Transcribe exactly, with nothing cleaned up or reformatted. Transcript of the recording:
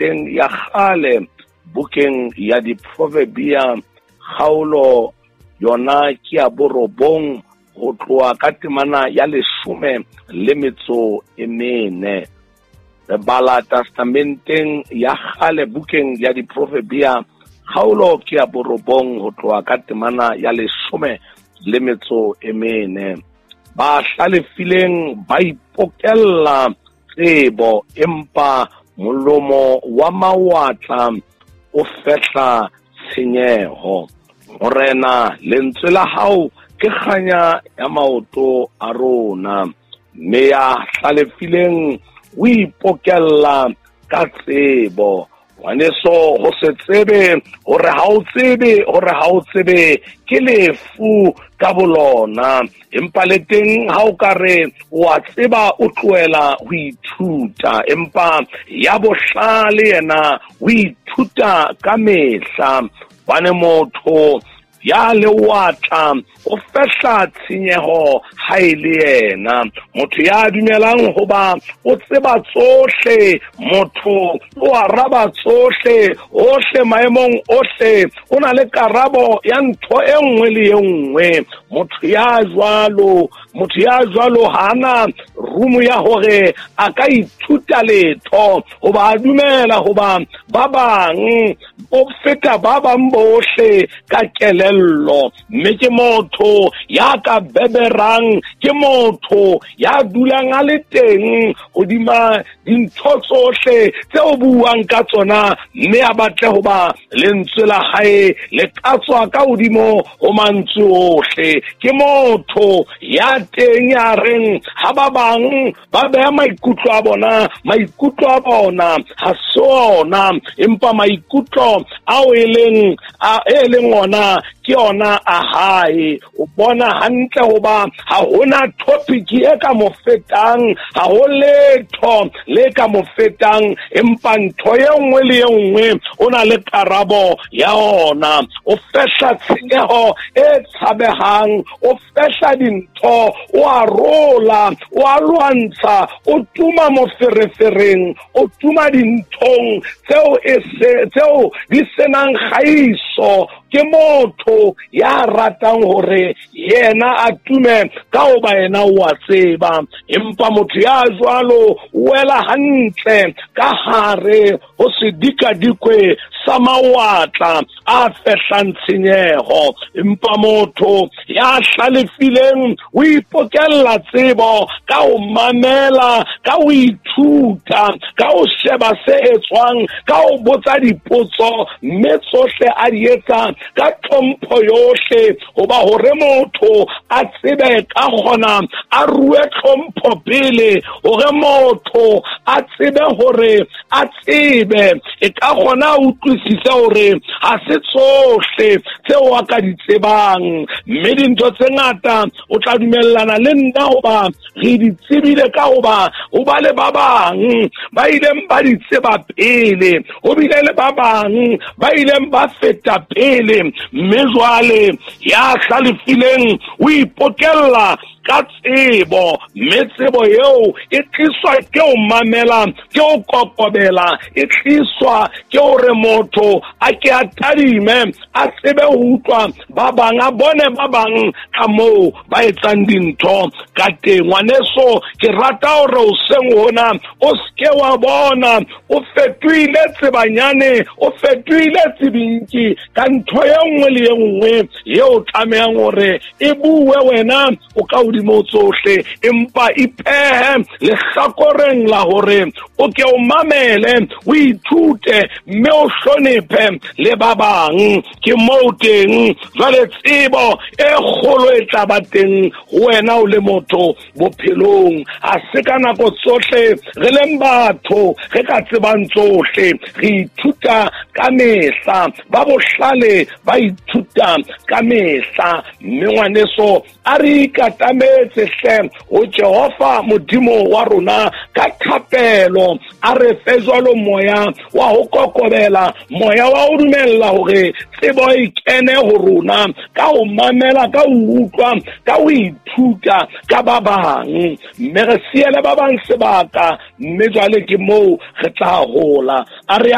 Testamenteng ya kgale bukeng ya Diproverbia kgaolo yona ke ya borobong ho tloha ka temana ya leshome le metso e mene. Re bala Testamenteng ya kgale bukeng ya Diproverbia kgaolo ke ya borobong ho tloha ka temana ya leshome le metso e mene. Ba hlalefileng ba ipokella tsebo, empa molomo wa mawatla o fehla tshenyeho. Morena, lentswe la hao ke kganya ya maoto a rona, mme ya hlalefileng o ipokella ka tsebo. Ngwaneso, ho se tsebe hore ha o tsebe hore ha o tsebe ke lefu ka bolona, empa le teng ha o ka re wa tseba o tlohela ho ithuta, empa ya bohlale yena o ithuta ka mehla. Hobane motho ya lewatla o fehla tshenyeho ha e le yena. Motho ya dumelang hoba o tseba tsohle, motho o araba tsohle, ohle maemong ohle, o na le karabo ya ntho e nngwe le e nngwe. Motho ya jwalo, motho ya jwalo ha ana rumo ya hore a ka ithuta letho, hoba a dumela hoba ba bang o feta ba bang bohle ka kelello. Mme ke motho ya ka beberang, ke motho ya dulang a le teng hodima dintho tsohle tseo buang ka tsona, mme a batle hoba lentswe la hae le ka tswa ka hodimo ho mantswe ohle. Ke motho ya teng ya reng ha ba bang ba beha maikutlo a bona, maikutlo a bona ha se ona, empa maikutlo ao e leng a e leng ona ke ona a hae. O bona hantle hoba ha hona topic e ka mo fetang, ha ho letho le ka mo fetang, empa ntho e nngwe le e nngwe o na le karabo ya ona. O fehla tshenyeho e tshabehang, o fehla dintho, o a rola, o a lwantsha, o tuma moferefereng, o tuma dinthong tseo e se tseo di senang kgaiso. Ke motho ya ratang hore yena a tume ka hoba yena o a tseba, empa motho ya jwalo o wela hantle ka hare ho sedikadikwe sa mawatla a fehlang tshenyeho. Empa motho ya hlalefileng o ipokella tsebo ka ho mamela, ka ho ithuta, ka ho sheba se etswang, ka ho botsa dipotso, mme tsohle a di etsa ka tlhompho yohle, hoba hore motho a tsebe ka kgona a rue tlhompho pele, hore motho a tsebe hore a tsebe e ka kgona a utlwisise hore ha se tsohle tseo a ka di tsebang. Mme dintho tse ngata o tla dumellana le nna hoba re di tsebile ka hoba ho ba le ba bang ba ileng ba di tseba pele, ho bile le ba bang ba ileng ba feta pele. Mme jwale ya hlalefileng o ipokella ka tsebo, mme tsebo eo e tliswa ke ho mamela, ke ho kokobela, e tliswa ke hore motho a ke a tadime, a tsebe ho utlwa ba bang, a bone ba bang ka moo ba etsang dintho ka teng. Ngwaneso, ke rata hore hoseng hona o seke wa bona o fetohile tsebanyane, o fetohile tsebinki ka ntho e nngwe le e nngwe eo tlamehang hore e bue wena o ka hodimo tsohle, empa ipehe lehlakoreng la hore o ke o mamele, o ithute, mme o hlonephe le ba bang. Ke moo teng jwale tsebo e kgolo e tla ba teng ho wena o le motho bophelong. Ha se ka nako tsohle re leng batho re ka tsebang tsohle, re ithuta ka mehla. mehla, ba bohlale ba ithuta ka mehla. Mme ngwaneso, a re ikatametse hle ho Jehova Modimo wa rona ka thapelo, a re fe jwalo moya wa ho kokobela, moya wa ho dumella hore tsebo e kene ho rona ka ho mamela, ka ho utlwa, ka ho ithuta ka ba bang, mme re siele ba bang sebaka, mme jwale ke moo re tla hola. A re